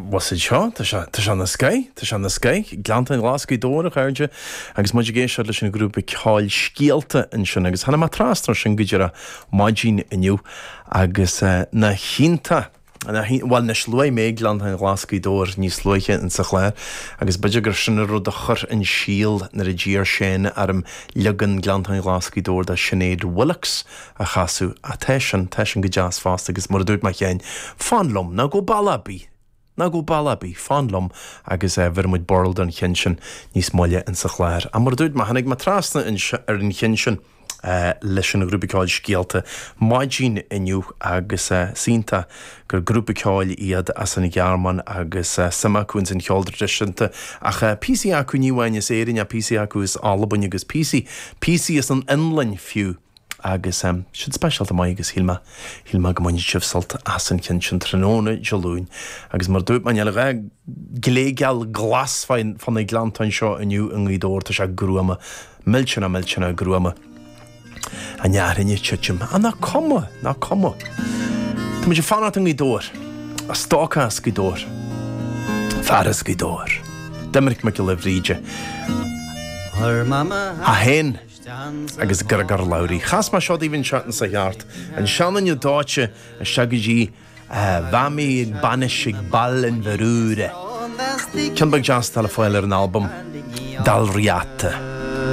What's it seo? Tá sé, tá sé ina scoith, tá sé ina scoith. Gleanntáin Ghlas Gaoth Dobhair, a chairde, agus muid ag éisteacht leis an ghrúpa ceoil Scéalta ansin agus tháinig mé trasna ar sin go díreach maidin inniu agus nach iontach, nach iontach, bhuel anois luaigh mé Gleanntáin Ghlas Gaoth Dobhair níos luaithe insa chlár agus b'fhéidir gur sin an rud a chuir an síol nuair a d'iarr Shane orm leagan Gleanntáin Ghlas Gaoth Dobhair de Sinéad Willox a chasadh. Ach tá sin, tá sin go deas fosta agus mar a dúirt mé cheana, fan liom, ná gabh bealach ar bith, ná gabh bealach ar bith, fan liom agus bhéarfaidh muid burl don cheann sin níos moille insa chlár. Ach mar a dúirt mé, tháinig mé trasna ar an cheann sin leis an ghrúpa ceoil Scéalta maidin inniu agus is iontach gur grúpa ceoil iad as an Ghearmáin agus suim acu ins an cheol traidisiúnta ach píosaí acu ní amháin as Éirinn ach píosaí acu as Albain agus píosaí, píosaí as an Fhionlainn fiú. Agus siad speisialta maith agus shíl mé, shíl mé go mbainfeadh sibh sult as an cheann sin tráthnóna Dé Luain. Agus mar a dúirt mé, níl a dhath gléigeal glas fá na gleanntáin seo inniu i nGaoth Dobhair, tá sé gruama, millteanach, millteanach gruama. An fhearthainn ag titim. Ach nach cuma, nach cuma. Tá muid ag fanacht i nGaoth Dobhair. Stócach as Gaoth Dobhair. Fear as Gaoth Dobhair. Doiminic Mac Giolla Bhríde. É féin. agus Griogair Labhruidh. Chas mé seo daoibh an tseachtain seo thart, an seanduine dóite isteach go dtí a mhamaí ag bainis ag Baile an Bhúird. Ceann beag deas atá le fáil ar an albam Dál Riata.